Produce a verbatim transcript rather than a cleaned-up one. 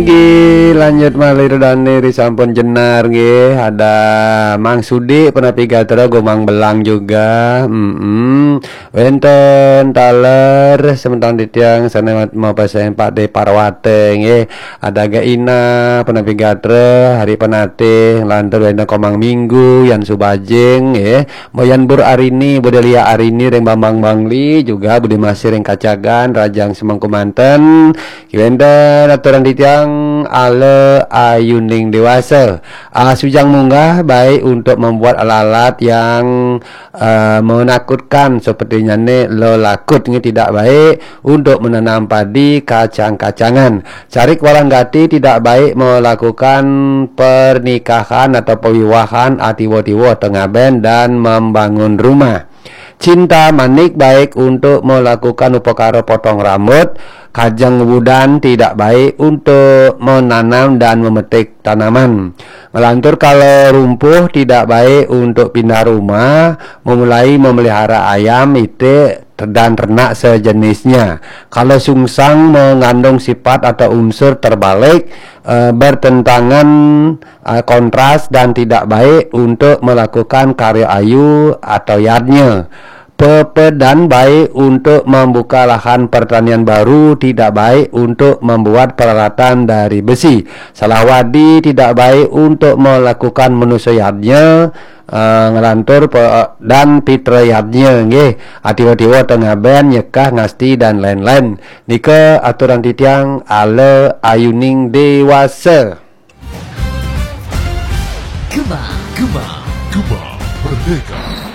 Nggih, lanjut malih Ridho Dani ri sampun jenar nggih. Ada Mang Sudi, punapi gatra, Gumang Belang juga. Mm-mm. Wénten taler semeton titiang sané mau pasang Pak De Parwate nggih. Ada Gaina, punapi gatra, Hari Penatih, lantur wénten Komang Minggu, Yan Subajing nggih. Boyan Bur Arini, Budelia Arini ring Bambang Bangli, juga Budi Masih ring Kacagan, Rajang Semengku manten. Wénten aturan titiang ala ayuning dewasa. Ah, sujang munggah baik untuk membuat alat-alat yang eh, menakutkan sepertinya ne lelakut ini tidak baik untuk menanam padi kacang-kacangan. Carik walang gati tidak baik melakukan pernikahan atau pewiwahan atiwa-tiwa tengah ben dan membangun rumah. Cinta manik baik untuk melakukan upakara potong rambut, kajeng wudan tidak baik untuk menanam dan memetik tanaman. Ngelantur kalau rumpuh tidak baik untuk pindah rumah, memulai memelihara ayam, itik, dan ternak sejenisnya. Kalau sungsang mengandung sifat atau unsur terbalik, eh, bertentangan, eh, kontras dan tidak baik untuk melakukan karya ayu atau yadnya. Pepedan baik untuk membuka lahan pertanian baru, tidak baik untuk membuat peralatan dari besi. Salah wadi tidak baik untuk melakukan manusia yadnya, eh, ngelantur pe-, dan pitra yadnya, nggih. Atiwa-tiwa tengah ben, nyekah ngasti dan lain-lain. Nika aturan titiang ala ayuning dewasa. Gema, Gema, Gema Merdeka.